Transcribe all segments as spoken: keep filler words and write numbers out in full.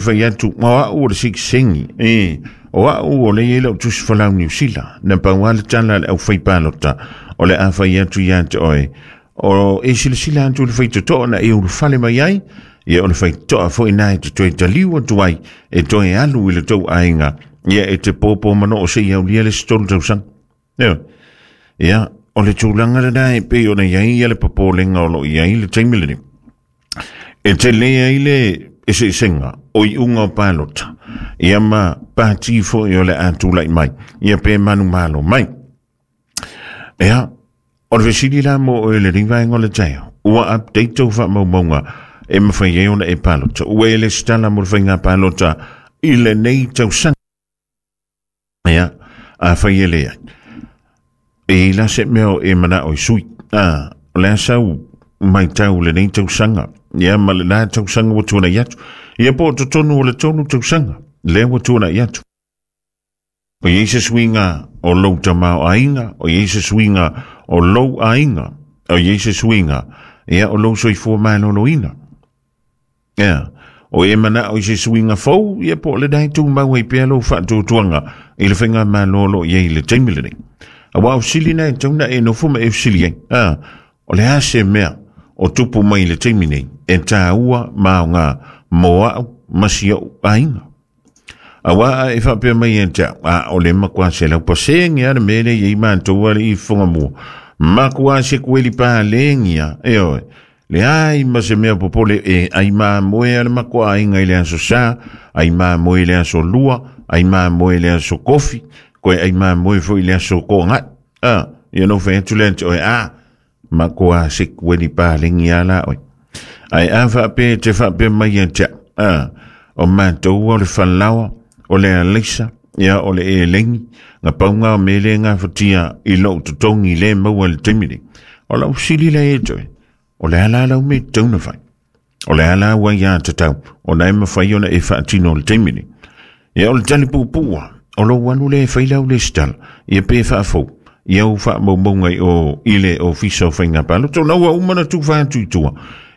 Fai atu o au o le sikisengi e o au o le ia lau tusi falau Niu Sila na pau le tala le au fai palota o le a fai atu ia te oe o e silasila atu le faitotoa na e ulufale mai ai ia o le faitotoa foi na e te toe taliu atu ai e toe alu i le tou aiga ia e te pōpō manoo se aulia le isi tolu tausaga. Ioe. Ia o le tulaga lena e pei ona i ai ia le popolega o loo i ai le taimi lenei. E tele ai le eseesega o iuga o palota ia ma pati foi o le a tulai mai ia pe manumalo mai. Ia o le fesili la mo oe le vaega o le taeao ua update tou faamaumauga e mafai ai ona e palota ua e lesitala mo le faiga palota i lenei tausaga. Ia afai e leai e i la se mea o e manao i sui a o le a sau maitau lenei tausaga ia ma lena tausaga ua tuanai atu ia po o totonu o le tolu tausaga lea ua tuanai atu. O iai se suiga o lou tamaoaiga, o iai se suiga o lou aiga, o iai se suiga ia o lou soifua maloloina. Ia o e manao i se suiga fou ia po o lena e tumau ai pea lou faatuatuaga i le faiga malolo i ai i le taimi lenei. Aua o fesili na e tatau ona e nofo ma e fesili ai. A o le a se mea o tupu mai i le taimi nei e tāua ma aoga mo au ma si ou aiga. Aua a e faapea mai ia te au, a o le makuā selau pasene a le mea lea i ai matou alii fogamua. Makuā se kueli pālengia, ioe. Leai ma se mea popole e ai mamoe a le makuā aiga i le aso Sa, ai mamoe i le aso Lua, ai mamoe i le aso Kofi, koe ai mamoe foi i le aso Koagai. A, ia no fai atu lea te oe, a, makuā se kueli pālengi a la oe. Ae a faapea te faapea mai ia te au, a, o matou o le falaoa, o le alaisa, ia o le elegi, na paunga o mea le gafatia i lou totogi le maua i le taimi nei. O lau fesili lea ia te oe, o le a la lau mea e tatau ona fai? O le a la ua ia tatau ona e mafai ona e faatino i le taimi nei? Ia o le tali puupuu lava, o lou alu lea e fai lau lesitala, ia pe faafou ia ou faamaumauga i o i le Ofisa o Faiga Palota, ona ua uma ona tufa atu i tua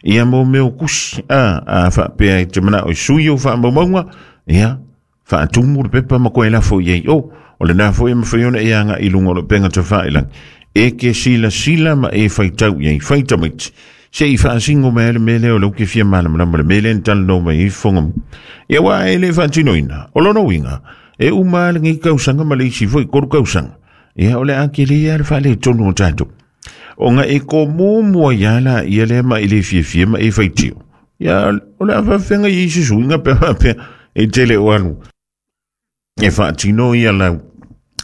ia mo mea o kusi. A, a faapea e te manao e sui ou faamaumauga, ia faatumu le pepa ma koe lafo i ai. O, o lena foi e mafai ona e agai i luga o le upega tafailagi e ke silasila ma e faitau i ai fai tamaiti se i faasingo mai ai le mea lea o lea ou te fia malamalama le mea lea na talanoa mai ai fofoga. Ia aua e le faatinoina o lona uiga e uma lava lenei tausaga ma le isi foi tolu tausaga ia o le a tele lava le faaletonu o tatou ona e tomumu ai lava laia lea ma e le fiafia ma e faitio. Ia o le a faafefega i ai se suiga pe a faapea e tele o alu e faatino ia lau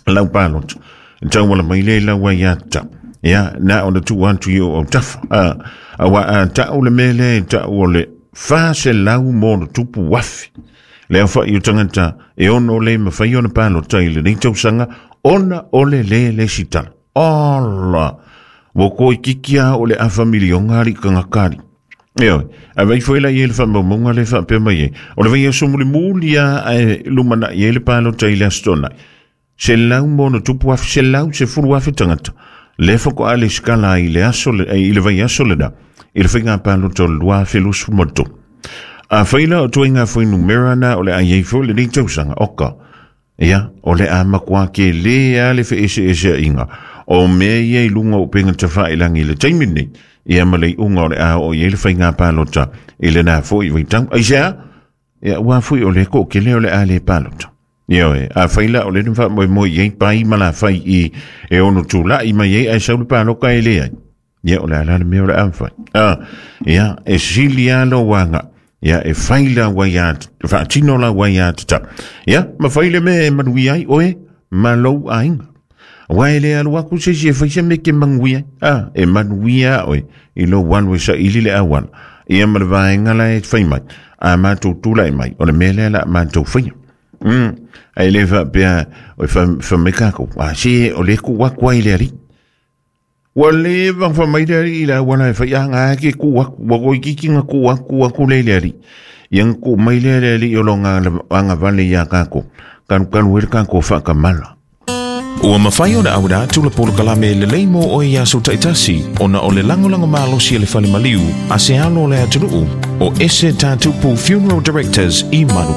lau palota e tauala mai lea i lau aiatatau ia na ona tuu atu i ou autafa. A aua a tau le mea lea e tau o le fa selau mo ona tupu afe le aofai o tagata e ono le mafai ona palota i lenei tausaga ona o le lē lesitala. Ala ua toeitiiti lava o le afa miliona alii tagata alii. Ioe, ae vaai foi la i ai le faamaumauga lea e faapea mai ai, o le vaiaso mulimuli lava ae lumanai ai le palota i le Aso Toonai, selau ma ono tupu afe, selau sefulu afe tagata lea faatoa lesitala ai i le aso i le vaiaso lena i le faiga palota o le lua afe luasefulu ma le tolu. Afai la o ituaiga fuainumera na o le a i ai foi lenei tausaga, oka, ia, o le a matua tele lava le feeseeseaiga o mea ia i luga o upega tafailagi i le taimi lenei, ia ma le iuga o le a oo i ai le faiga palota i lena foi vaitau. Aisea? Ia, aua foi o le toatele o le a le palota. Ioe, afai la o lea na faamoemoe i ai pai ma lafai i e ono tulai mai ai ae sau le palota e leai. Ia, o le a la le mea o le a mafai? Ah, ia, e sili lava lou aga. Ia, e fai lau aia, faatino lau aiatatau. Ia, ma fai le mea e manuia ai oe ma lou aiga. Aua e le alu atu se isi e fai se mea e te manuia ai. Ah, e manuia oe i lou alu e saili le auala. Ia ma le vaega la e fai mai, a matou tulai mai, o le mea lea o le a matou faia. Mm. Ae le faapea, o e fai mai kākou, a se o lea e tuu atu ai i le alii. Ua leva ona fai mai le alii i le auala e fai, a na ke tuu atu, ua toeitiiti na tuu atu, tuu atu lea i le alii. Ia na tuu mai lea le alii o lona agavale ia kākou, kalukalu ai le kākou faatamala. Ua mafai ona auina atu le polokalame lelei mo oe i aso taitasi, ona o le lagolago malosi a le fale maliu a se alo o le atunuu o Ese Tatupu Funeral Directors i Manukau.